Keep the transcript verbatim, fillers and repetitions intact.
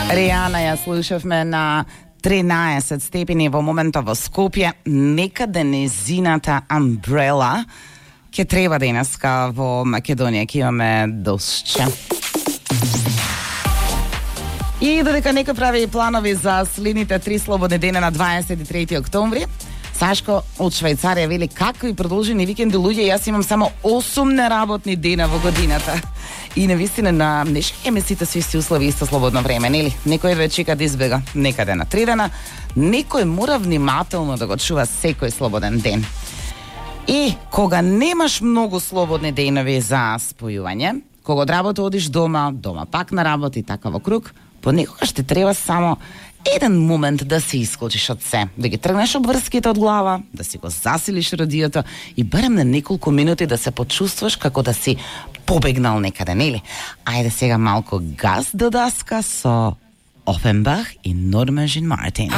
Ријана ја слушавме на тринаесет степени во моментот во Скопје. Некаде незината Umbrella ќе треба денеска во Македонија, ќе имаме дошче. И додека некој прави планови за следните три слободни дена на дваесет и трети октомври, Сашко од Швајцарија вели какви продолжени викенди луѓе, јас имам само осум неработни дена во годината. И навистина на днешните месите со исти услови, исто слободно време, нели? Некој ве чека да избега некаде на три дена, некој мора внимателно да го чува секој слободен ден. И кога немаш многу слободни денови за спојување, кога од работа одиш дома, дома пак на работа и така во круг, понекогаш ти треба само еден момент да се исклучиш од се, да ги тргнеш обврските од глава, да си го засилиш радиото и барем на неколку минути да се почувствуваш како да си побегнал некаде, нели? Ајде сега малку газ до даска со Офенбах и Норма Жин Мартин.